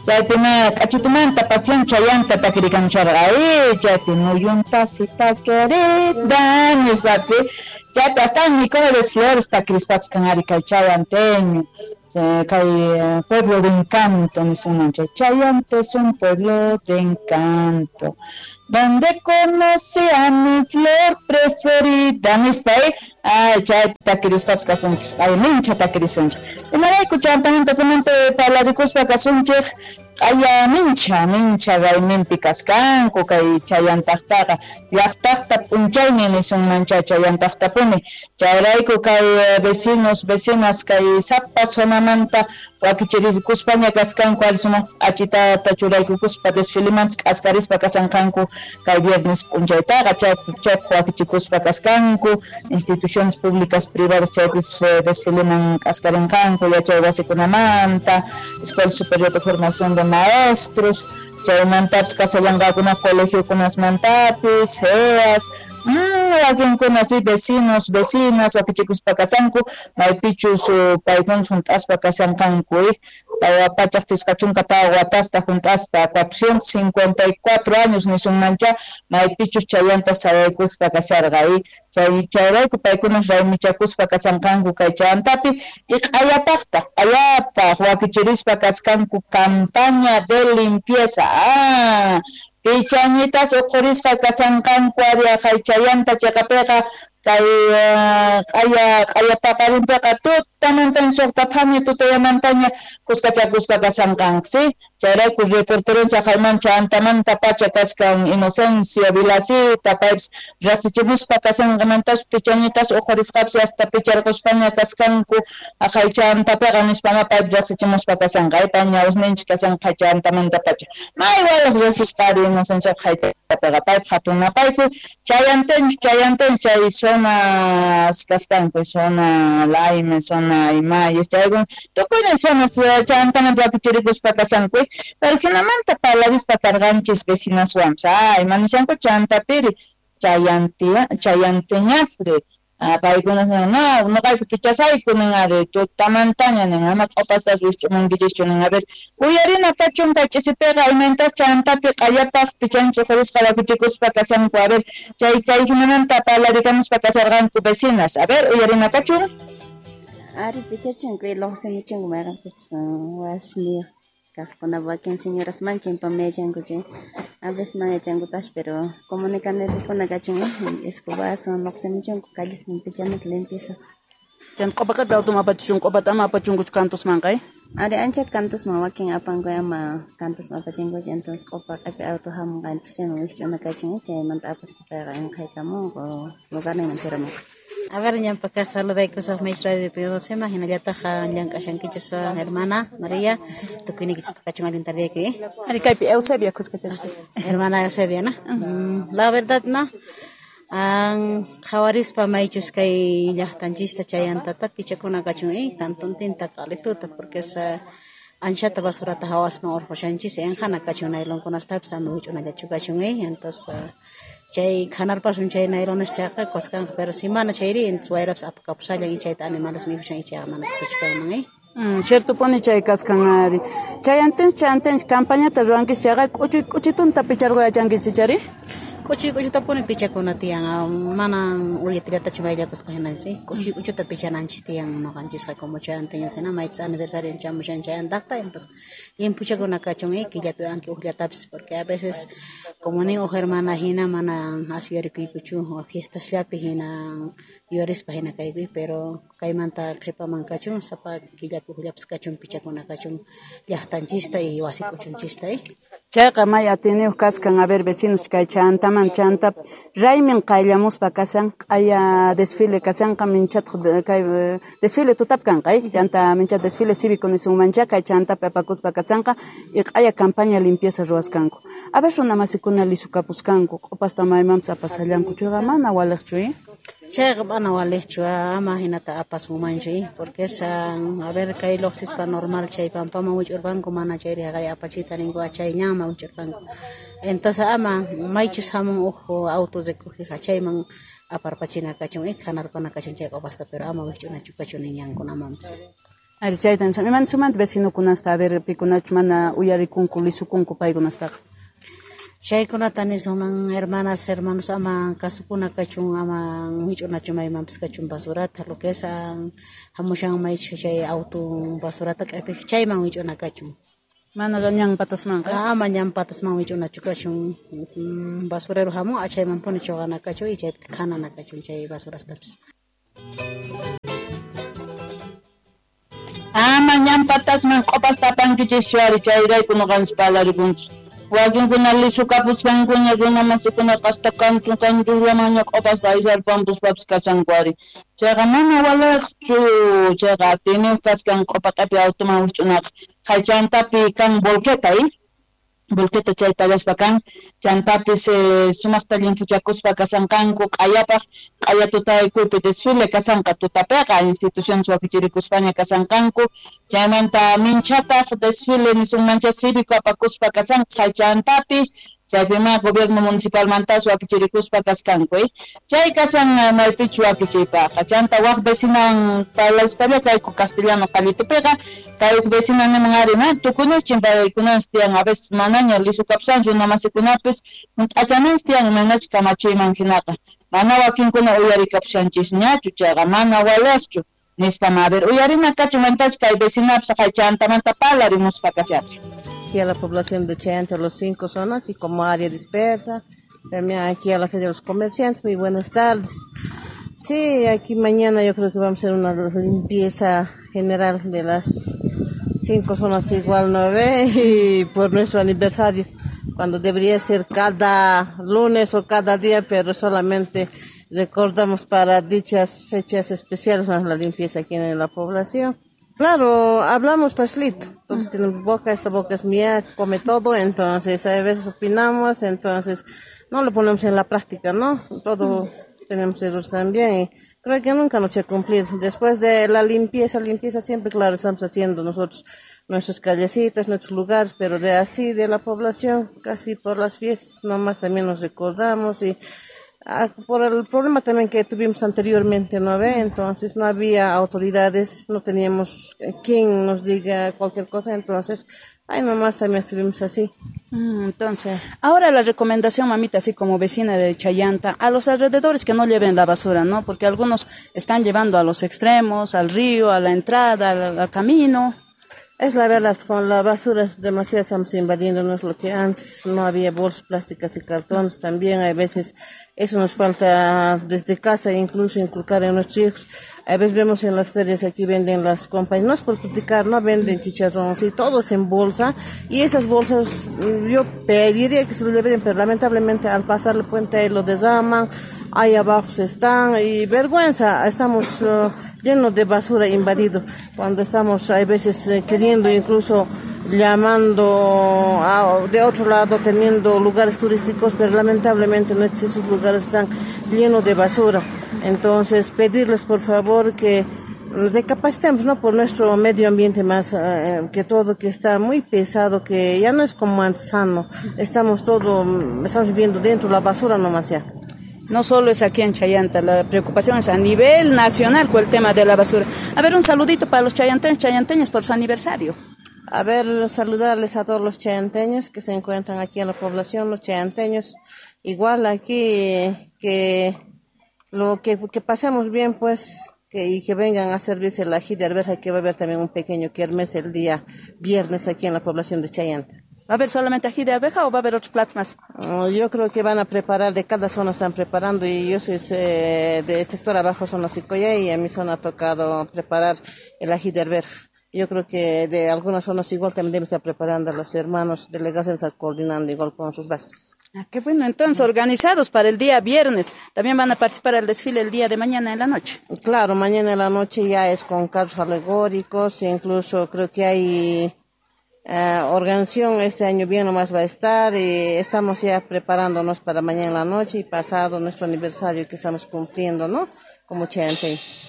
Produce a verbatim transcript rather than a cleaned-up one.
Chaypina k'achitumanta Pasión Chayanta takirikamcharqa ay chaypi muyuntacita querida nispapis chaypi hasta Nicomedes Flores takirispapis kan ari kay chayanteño kay pueblo de encanto nisunman chay Chayanta es un pueblo de encanto donde conocí a mi flor preferida nispa ay chaypi takirispapis kasunchis ay mincha takirisunchik imarayku chantamanta kunanpi parlarikuspa kasunchik q'aya mincha mincha rayminpi kaskanku kay chayantaqtaqa llaqtaqta p'unchaynin nisunmancha chayantaqtapuni chayrayku kay vecinos vecinas kay sapa zonamanta wakichirikuspaña kaskanku ari sumaq p'achitata churaykukuspa desfilemanpis k'askarispa kasanqanku kay viernes p'unchaytaqa chaypaq wakichikuspa kaskanku instituciones públicas privadas chaypis desfileman k'askarinqanku yachay wasikunamanta Escuela Superior de Formación de Maestros chaymantapis kasallanqakuna colegiokunasmantapis C E As wakinkuna si vecinos vecinas wakichikuspa kasanku maypichus paykuna junt'aspa kasanqanku tawa pachaq pisqa chunka tawa watasta junt'aspa cuatrocientos cincuenta y cuatro años nisunmancha maypichus chayanta sayaykuspa kasarqa chay chayrayku paykuna raymichakuspa kasanqanku kay chayantapi y q'ayapaqtaq q'ayapaq wakichirispa kaskanku campaña de limpieza ah pichañitas uqhurisqa kasanqanku ari aqhay chayanta chayqapiqa kay q'aya q'aya paqarinpiqa tutamantaña suqta phami tutayamantaña kuskachakuspa kasanqanku si chayrayku reporteronchik aqhayman chantamanta pacha kachkan Inocencia Vilacita paypis riqsichimuspa kasanqamantas pichañitas uqhurisqapis hasta picharquspaña kaskanku aqhay chantapiqa nispama paypis riqsichimuspa kasanqa pay ñawsninchik kasanqa chantamanta pacha may walaq riqsisqa ari Inocencia haytapiqa paypaq hatun napayku chayantinchik chayantinchik chay zonas kaskanku zona Laime zona Imayes chaykuna tukuynin zonas chantamanta wakichirikuspa kasanku pero jinamanta parlarispa karqanchis vecinaswanpis ay manishanku chantapiri chayantia chayanteñasri paykuna no noqayku pichasayku nin ari tutamantaña nin ama q'upastas wisch'umankichischu nin a ver uyarina kachun kay ch'isipiqa imayntas chantapi q'ayapaq pichanchik uqhurisqa wakichikuspa kasanku a ver chay kay jinamanta parlarikamuspa kasarqanku vecinas a ver uyarina kachun ari pichachinku luqsimuchinku mayqanpichus wasniyuq kaqkuna wakin señoras manchin pamiyachanku chay a veces mana yachankutash pero comunicanerikuna kachun escobazo luqsimuchinku callesman pichanata limpieza chan q'upaqapi automan apachichun q'upata ama apachunkuchu kantusmanqa ari anchata kantusman wakin apanku ama kantusman apachinkuchu entonces q'upa q'ipi auto hamunqa entonces chayman wikch'una kachun chaymanta apaspa payqa inqhaykamunku lugarninman churamunqa. A ver, ñampaka saludaykusaq maychus radio Pidosema hinallataq llank'ashankichis hermana María tukuynikichis kachun allin tardiyayku ari kaypi Eusebia kuskachasqa hermana Eusebia no mm, la verdad no an qhawarispa maychus kay llaqtanchista chayantata pichakuna kachun eh kantuntinta qalituta porque esa anchata basurata hawasman urqushanchis enqhana kachun nailonkunastapis ama wich'unallachu kachun eh entonces chay khanarpasun chay nailones chayqa kuskanqa pero si mana chayri entonces wayrapis apakapusallan y chayta animales mikhushan chayqa mana kusachu kanman eh Mm, ciertopuni chay kaskan ari chayantinchik chayantinchik campañata ruwankichis chayqa k'uchuy k'uchitunta picharqu yachankichis chari k'uchuy k'uchutapuni pichakuna tiyan mana ulyatillatachu mayllakuspa hinanchis k'uchuy k'uchuta pichananchis tiyan noqanchisqa como chayanteños hina maychis aniversario chamushan chayantaqta entonces limpuchakuna kachun eh killapi anki uqllatapis porque a veces como nin uj hermana hina mana as yuyarikuykuchu fiestasllapi hina yuyarispa hina kaykuy pero kaymanta qhipaman kachun sapa killapi uqllapis kachun pichakuna kachun llaqtanchista y wasi k'uchunchista eh chayqa may atiniyuq kaskan a ver vecinos kay chantaman chanta raymin qayllamuspa kasan q'aya desfile kasanqa minchataq kay desfile tutapi kanqa chanta minchat desfile cívico nisunmancha kay chantapi apakuspa kasanqa y q'aya campaña limpieza ruwaskanku a ver runa masikuna lisukapuskanku q'upasta maymanpis apasallanku chayqa mana waliqchu eh chayqa mana waliqchu ama hinata apasunmanchu eh porque esa a ver kay luqsispa normal chay pampaman wich'urpanku mana chayri haqay apachita ninku chay ñanman wich'urpanku entonces ama maychus hamun uj auto recogeqa chayman aparpachina kachun eh khanarpana kachun chay q'upasta pero ama wikch'unachu kachun ñankunamanpis. Ari chayta nisam, sumanta vecinokunasta a ver pikunachu mana uyarikunku lisukunku paykunastaqa. Chaykunata nisunman hermanas, hermanos, ama kasukuna kachun, ama wich'unachu maymanpis kachun basurata, lo que es hamushan maychu chay auto basurata k'apiq chayman wich'una kachun. Mana ñan patasmanqa. Ama ñan patasman wich'unachu kachun, basurero hamun chaymanpuni chuqana kachun y chaypi khanana kachun chay basurastapis. Ama ñan patasman q'opasta apankichikchu ari chayrayku nuqanchis parlarikunchik. Wakinkuna lisukapusqankuña runa masikunaqa hasta kantu kantullamanña q'opasta aysarpampuspapis kashanku ari. Chayqa mana walaqchu, chayqa atiyniyuq kaskan q'opa q'api automan wich'unaqa. Chaychantapi kan volqueta, ¿eh? Volqueta chay pallaspa kan, chantapis eh, sumaqta llimphuchakuspa kasanqanku q'ayapaq, q'aya tutaykuypi desfile kasanqa tutapiqa, instituciones wakichirikuspaña kasanqanku, chaymanta minchataq desfile nisunmancha cívico apakuspa kasanqa chantapi, chaypima gobierno municipalmantas wakichirikuspa kaskanku, eh? Chay kasan maypichu wakichiypaqqa, chanta waq vecinan parlaspalla kayku castellano qallitupiqa, kay vecina niman ari na tukunichin paykunas tiyan a veces manaña lisukapsan runa masikunapis hunt'achananchis tiyan manachu kamachiyman hinaqa, mana wakinkuna uyarikapushanchisñachu chayqa mana walaqchu nispa a ver uyarina kachun mantachu kay vecinapis chantamanta parlarimuspa kasharqa. Aquí a la población de Chayanta, los cinco zonas y como área dispersa, también aquí a la Feria de los Comerciantes, muy buenas tardes. Sí, aquí mañana yo creo que vamos a hacer una limpieza general de las cinco zonas igual nueve y por nuestro aniversario, cuando debería ser cada lunes o cada día, pero solamente recordamos para dichas fechas especiales la limpieza aquí en la población. Claro, hablamos facilito, entonces tenemos boca, esta boca es mía, come todo, entonces a veces opinamos, entonces no lo ponemos en la práctica, ¿no? Todo tenemos errores también y creo que nunca nos ha cumplido. Después de la limpieza, limpieza siempre, claro, estamos haciendo nosotros nuestras callecitas, nuestros lugares, pero de así, de la población, casi por las fiestas nomás también nos recordamos y por el problema también que tuvimos anteriormente, ¿no ve? Entonces no había autoridades, no teníamos quien nos diga cualquier cosa, entonces, ay, nomás también estuvimos así. Entonces, ahora la recomendación, mamita, así como vecina de Chayanta, a los alrededores que no lleven la basura, ¿no? Porque algunos están llevando a los extremos, al río, a la entrada, al, al camino. Es la verdad, con la basura demasiado estamos invadiendo, no es lo que antes, no había bolsas plásticas y cartones también, hay veces eso nos falta desde casa incluso inculcar en nuestros hijos. A veces vemos en las ferias aquí venden las compañías, no es por criticar, no venden chicharrones y todos en bolsa, y esas bolsas yo pediría que se lo lleven, pero lamentablemente al pasar el puente ahí lo desarman, ahí abajo se están, y vergüenza, estamos uh, llenos de basura invadido, cuando estamos hay veces eh, queriendo incluso llamando a, de otro lado, teniendo lugares turísticos, pero lamentablemente no esos lugares están llenos de basura. Entonces pedirles por favor que recapacitemos, ¿no?, por nuestro medio ambiente más eh, que todo, que está muy pesado, que ya no es como antes sano, estamos todo, estamos viviendo dentro de la basura nomás ya. No solo es aquí en Chayanta, la preocupación es a nivel nacional con el tema de la basura. A ver, un saludito para los chayanteños, chayanteñas por su aniversario. A ver, saludarles a todos los chayanteños que se encuentran aquí en la población, los chayanteños, igual aquí, que lo que, que pasemos bien, pues, que, y que vengan a servirse el ají de arveja, que va a haber también un pequeño kermés el día viernes aquí en la población de Chayanta. ¿Va a haber solamente ají de abeja o va a haber otros platos más? Yo creo que van a preparar, de cada zona están preparando, y yo soy eh, del sector abajo, zona Sicoya, y a mi zona ha tocado preparar el ají de arveja. Yo creo que de algunas zonas igual también deben estar preparando a los hermanos delegados, estar coordinando igual con sus bases. Ah, qué bueno, entonces, organizados para el día viernes. También van a participar al desfile el día de mañana en la noche. Claro, mañana en la noche ya es con carros alegóricos, incluso creo que hay eh, organización este año bien nomás va a estar, y estamos ya preparándonos para mañana en la noche y pasado nuestro aniversario que estamos cumpliendo, ¿no? Como chayanteños.